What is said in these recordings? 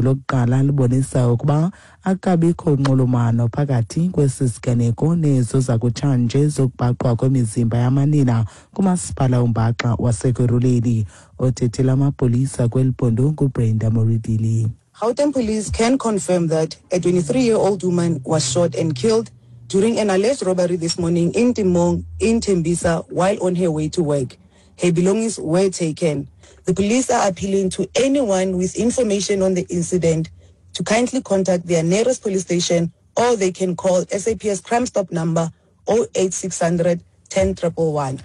Inqaku lokuqala libonisa ukuba akukabikho nxulumano phakathi kwesi siganeko nezo zakutshanje zokubhaqwa kwemizimba yamanina kumasipala ombaxa wasekurhuleni. Othethela amapolisa kweli phondo nguBrenda Muridili. Gauteng police can confirm that a 23-year-old woman was shot and killed during an alleged robbery this morning in Temong in Tembisa while on her way to work. Her belongings were taken. The police are appealing to anyone with information on the incident to kindly contact their nearest police station, or they can call SAPS Crime Stop number 08600 10111.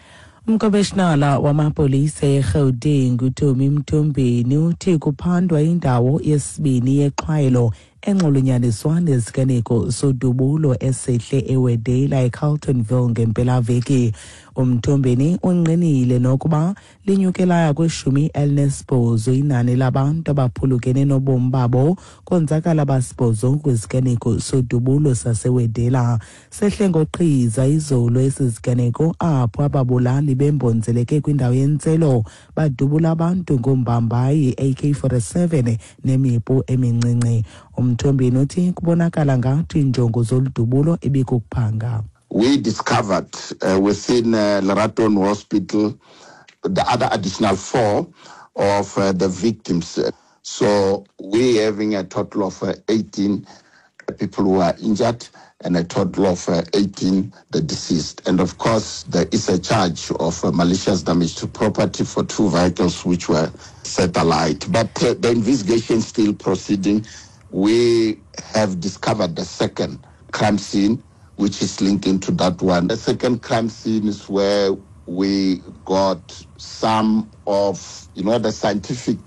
Umkomishinala wamapolisa eGauteng uTommy Mthombeni uthi kuphandwa indawo yesibini yexhwayelo enxulunyaniswa neziganeko sodubulo esehle eWedela eCarltonville ngempelaveki. Umthombeni ungqinile nokuba linyukela kwi-18 inani labantu abaphulukene nobomi babo konzakala abasibhozo kwiziganeko sodubulo saseWedela. Sehle ngoqhiza izolo esi siganeko apho ababulali bembonzeleke kwindawo yentselo badubula abantu ngombambayi AK-47 nemipu emincinci. Umthombeni uthi kubonakala ngathi injongo zoludubulo ibikukuphanga. We discovered within Leratong Hospital the other additional 4 of the victims. So we're having a total of 18 people who are injured and a total of 18 the deceased. And of course, there is a charge of malicious damage to property for 2 vehicles which were set alight. But the investigation is still proceeding. We have discovered the second crime scene, which is linked into that one. The second crime scene is where we got some of, the scientific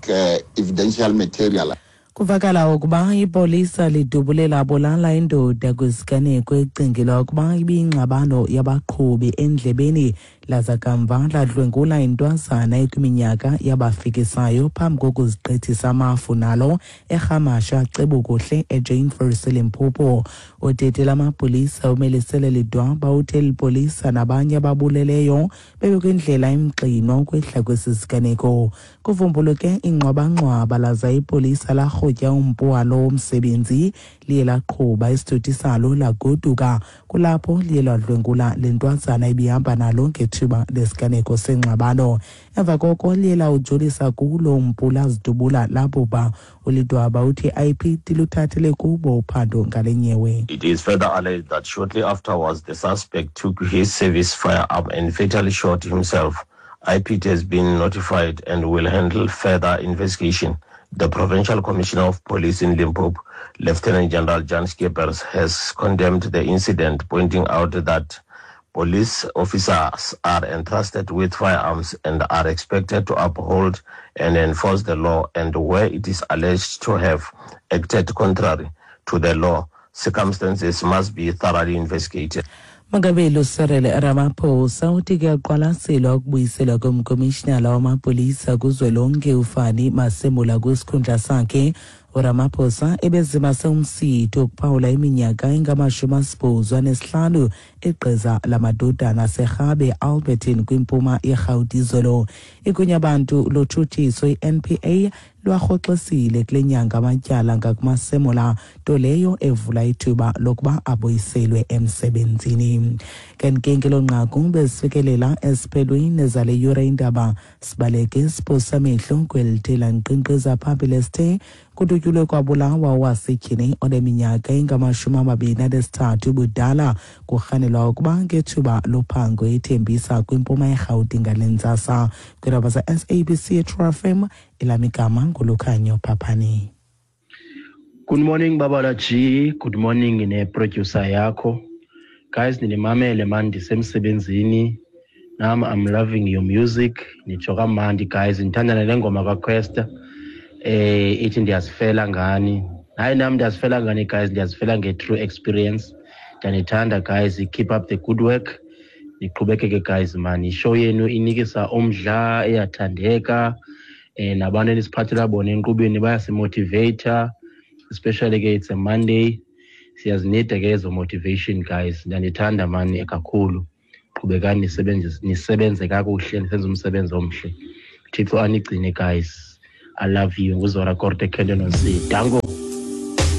evidential material. Kuvakala ukuba ipolisa lidubule labulala indoda kwisiganeko ecingelwa ukuba ibiyingxabano yabaqhubi endlebeni, laza kamva ladlwengula intwazana ekwiminyaka yabafikisayo phambi kokuzigqithisa amafu nalo eRhamasha Cebukuhle eJane Furse Limpopo. Uthethe amapolisa uMelisele Lidwaba uthe lipolisa nabanye ababuleleyo bebekwindlela emxinwa ukwehla kwesi siganeko. Kuvumbuluke ingxwabangxwaba laza ipolisa larhutya umpu walo womsebenzi, liye laqhuba isithuthi salo lagoduka. Kulapho liye ladlwengula le ntwazana ibihamba nalo ngethuba lesiganeko sengxabano. Emva koko liye lawujolisa kulo umpu lazidubula labhubha. ULidwaba uthi IPID luthathele kubo uphando ngale nyewe. It is further alleged that shortly afterwards the suspect took his service firearm and fatally shot himself. IPID has been notified and will handle further investigation. The Provincial Commissioner of Police in Limpopo, Lieutenant General Jan Skeepers, has condemned the incident, pointing out that police officers are entrusted with firearms and are expected to uphold and enforce the law, and where it is alleged to have acted contrary to the law, circumstances must be thoroughly investigated. Mongameli Cyril Ramaphosa uthi kuyaqwalaselwa ukubuyiselwa komkomishinala wamapolisa kuzwelonke uFani Masemola kwisikhundla sakhe. uRamaphosa ebezimase umsitho wokuphawula iminyaka engama-85 egqiza lamadodana aseRhabe Alberton kwimpuma yeRhawuti izolo. Igunyabantu lotshutshiso i-NPA lwarhoxisile kule nyanga amatyala ngakuMasemola, nto leyo evula ithuba lokuba abuyiselwe emsebenzini. Kanti ke ngelo nqaku bezifikelela esiphelweni zale yure indaba. Sibaleke siphosa amehlo kweli lankqinkqiza phambili esithe kudutyulwe kwabulawa owasetyhini oneminyaka engama-23 ubudala, kurhanelwa ukuba ngethuba lophango eThembisa kwimpuma yeRhawuti ngale ntsasa. Kwiindaba za-SABC True FM, elam igama nguLukhanyo Phaphani. Good morning Babala G, good morning ne-producer yakho. Guys, ninimamele man, ndisemsebenzini. Nam I'm loving your music. Nitsho kamandi guys, ndithanda nale ngoma kaQuesta. Ithi ndiyazifela ngani. Hayi nam ndiyazifela ngani guys, ndiyazifela nge-true experience. Ndiyanithanda guys, keep up the good work. Niqhubekeke guys man, ishow yenu inikisa umdla, iyathandeka. Nabantu enisiphathela bona enkqubeni bayasimotivata, especially ke it's a Monday. Siyazinida ke ezo motivation guys. Ndiyanithanda man kakhulu. Qhubekani nisebenze kakuhle, nisenze umsebenzi omhle. Thixo anigcine guys. I love you. Nguzora Korte Kenyon C. Dango.